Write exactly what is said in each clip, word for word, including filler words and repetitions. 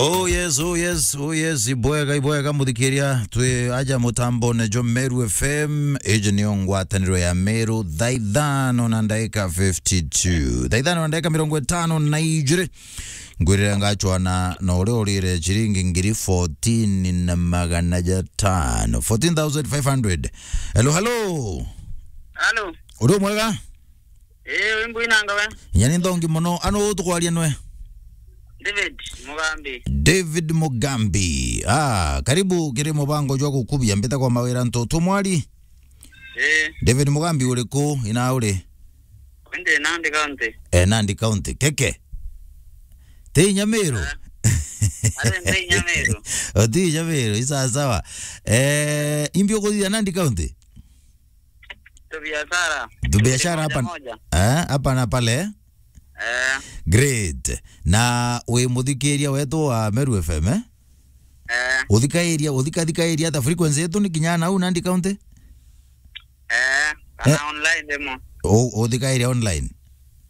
Oh yes, oh yes, oh yes, ibwega, ibwega muthikiria, twi aja mutambone jo Meru F M, iji niyo ngwataniro ya Meru, thaa ithano na ndagika fifty-two. Thaa ithano na ndagika mirongo itano na ijiri. Ngwirire ngachwana na uria urire chiringi ngiri fourteen na magana jatano. Fourteen thousand five hundred. Hello, hello. Hello. Uri mwega? Ii, wi mbui nanga we? Nyani nthongi mono. Anu tukwaria nwe? David Mugambi. David Mugambi. Ah, karibu kiri mubango jwa gukubia mbita kwa mawira ntu tumwari. Ii. David Mugambi uri ku ina uri? Ndi Nandi County. Eh, Nandi County. Keke. Ti Nyamiru? Eh. Ari ndi Nyamiru. Oti Nyamiru, isawa sawa. Eh, imbi ukuthithia Nandi County? Tu biashara. Tu biashara hapa, moja moja. Eh, hapa na pale. Eh. Great. Na wi muthikiria wetu wa Meru F M, eh? Eh. Uthikairia, uthikathikairia ata frequency yetu ni kinya nau Nandi County? Eh, kana eh, online demo. U-, uthikairia online?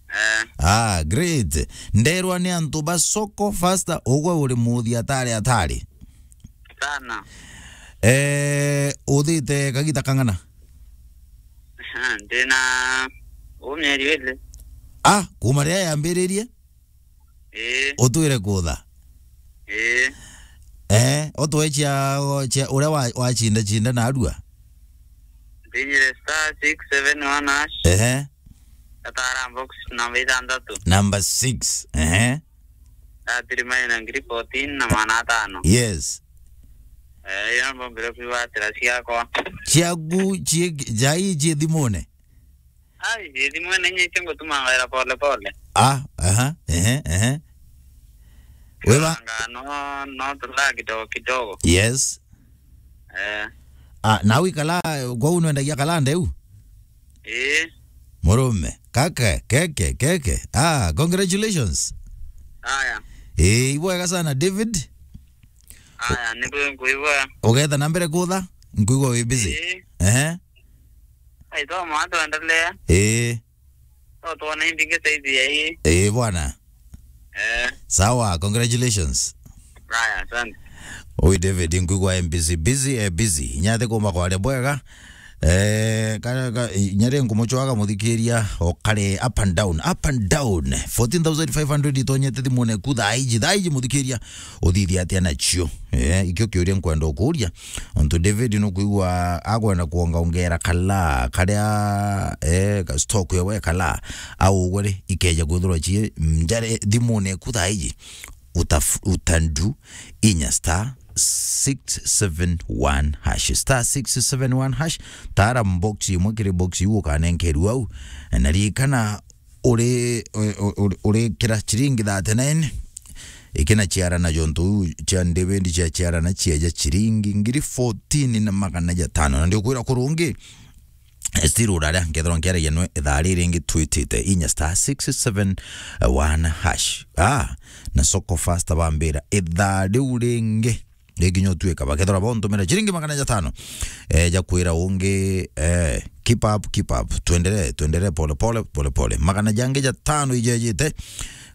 Eh. Ah, great. Nderwa ni antu ba soko faster, ugwe uri muthi atari atari. Sana. Eh, uthite kagita kang'ana? Aha, ndina u mieri iri. Ah, kuma riria yambiririe? Ii. Utwire kutha? Ii. Eh, utwe cia, cia uria wa, wacinda cinda narua? Ndinyire star six seven one hash. Ehe. Atara box namba ithanthatu. Number six. Ehe. Atiri maina ngiri fourteen na magana atano. Yes. Eh, iyo mbombire kwigwatira ciakwa. Ciaku cie, jai cie thimune? Ai, cie thimune nyenye cio ngutuma ngaira pole pole. Ah, aha, ehe, ehe. Weba? Anga no, no tula kidogo kidogo. Yes. Eh. Ah, na wikala, kwa unwendagia kalande u? Ii. Murume, kake, keke, keke. Ah, congratulations. Aya. Ii, ibwega sana, David. Aya, ni kwi nkuigua. Ugetha na mbere kutha? Nkuigua wi busy. Ii. Ehe. Ai, to mwa tuendelea. Ii. To tuone imbingi saizi ya ii. Ii, bwana. Eh. Sawa, congratulations. Aya, asante. Oi David, nkuigua M B C busy, eh, busy. Nyathe kuma kwaria bwega. Eh, ka, ka, nyare nkumuchwaga muthikiria okare up and down, up and down. Fourteen thousand five hundred itonyete thimune ku thaa iji, thaa iji muthikiria uthithia atia nacio? Eh, ikio kiuria nkwenda ukuria. Ontu David nukwigua agwenda kuongaongera kala, karia, eh, ka stock yawe kala, au ugwe ri, ikeja kwithirwa cie njare thimune ku thaa iji. Uta, utandu inya star six seven one hash, star six seven one hash. Tara box imwe kiri box iu ukanenkerua au. Na ririkana uri, uri, uri, uri kira chiringi thirty-nine. Ikina chiarana jontu cia David cia chiarana cieja chiringi ngiri fourteen na magana jatano. Na ndiukwira kurungi, still uraria, nkethirwa nkiaragia nwe ithaa riri ringi twitite inya star six seven one hash. Ah, na soko fast bambira ithaa riu ringi. Ringi nyo tuika, bakethirwa bontumira chiringi magana jatano. Eh, ja kwira ungi, eh, keep up, keep up. Tuendelee, tuendelee pole pole, pole pole. Magana jangi jatano ijejite.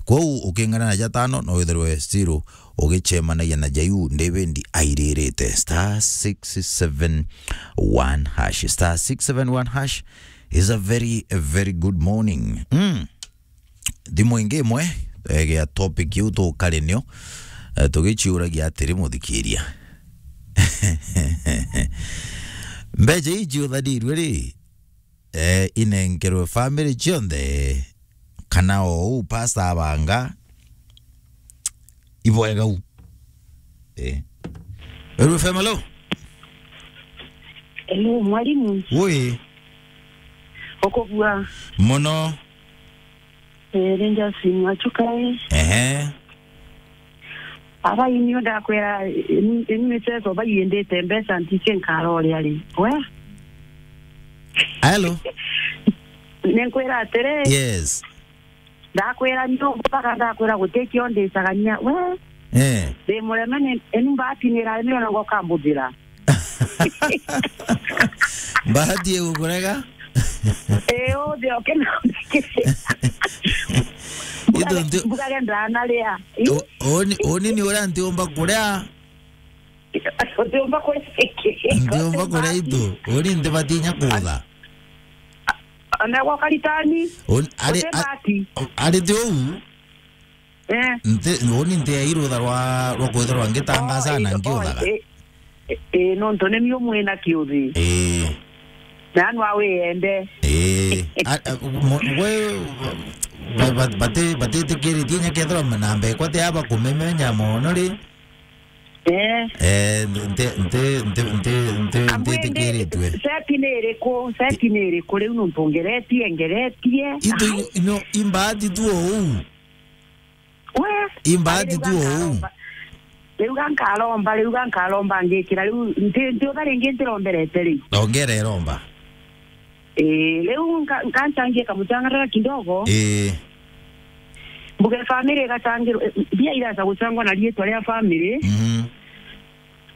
Kwou uking'ana na jatano, no withirwe still ugichemanagia na jaiu David airirite. Star six seven one hash. Star six seven one hash is a very, a very good morning. Mm. Thimu ingi imwe, eh, gia topic iu tukari nio, eh, tugichiuragia atiri muthikiria. Mbecha iji uthanirue ri, eh, inenkerwe family cionthe, kana o uu pastor abanga, ibwega u. Eh. Meru F M, hello? Hello, mwalimu. Ui. Ukubua. Mono. Eh, ni Justin Wachuka ii. Ehe. Aba ini ndakwira, ini, ini michezo baiendete mbeca nticie nkara uria ri. We? Hello? Ninkwira atiri. Yes. Ndakwira nyombo mpaka ndakwira gutikio ndicagania. We? Eh. Ndi mureme ni, ini mbati ni rari ni ona ngoka mbuthira. Mbahati igukurega? Eh, othe okena. Itu nti- Mbuga gendana ria. O-, oni, oni ni uria ntiumba kuria. Utiumba kuria iki. Ntiumba kuria itu. Oni ntibatinya kutha. Ona gwa karitani. Oni, ari, a-, Utibati. Ari ti uu. Eh. Nti, uni nti irutha rwa, rwa kwithirwa ngitangaca na ngiuthaga. Oh, eh, eh, eh, nontu ni miu mwina kiuthi. Ii. Na anwa wiyende. Ii. A, a, mo-, we, ba, ba, bati-, batitikiritie inya kethirwa na mbekwa ti aba kumemenya mono ri? Eh. Eh, nti, nti, nti, nti, nti, Ambwende, ntitikiritue. Seti ni iriku? Seti ni iriku riu nontu ngeretie, ngeretie? Itu, ai, no, imbati tu uu. We, imbati tu uu. Riu ga nkaromba. Riu ga nkaromba, riu ga nkaromba ngikira, riu nti, ntiutha ringi ntiromberete riu. Ongera iromba. Ii, riu nka-, nkanchangia kamuchangarara kidogo. Ii. Mbuge family igachangirwa, eh, mbia iracha guchangwa na riitwa ria family. Mhm.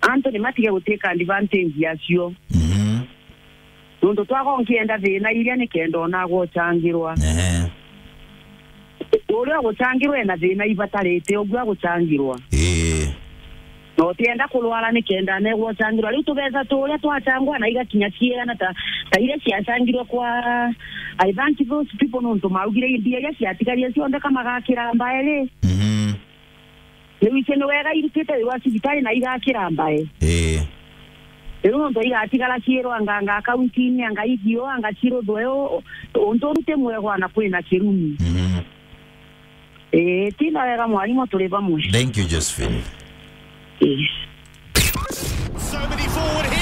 Antu ni matige gutake advantage yacio. Mhm. Nontu twaga nkienda thina iria nikenda ona agwe uchangirwa. Ehe. Uria uguchangirwa ena thina ibatarite, uguo aguchangirwa. Ii. Na utienda kurwara nikenda negwe uchangirwa. Riu tubeca turia twachangwa na igakinya ciigana ta, ta iria ciachangirwe kwa, I thank those people nontu maugire mbia iria ciatigarire cionthe kamagakira mbae ri. Mhm. Riu icio ni wega irutite wira wa cibitari na igakira mbae. Ii. Riu nontu igatigara ciirwa anga, anga akaunti-ini, anga igio, anga ciruthwe u, untu urute mwegwa na kwina kirumi. Mhm. Ii, tina wega mwarimu, turi bamwe. Thank you, Josephine. Ii.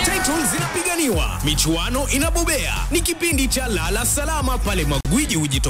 Titles zinapiganiwa, michuano inabobea. Ni kipindi cha Lala Salama pale magwiji hujitokeza.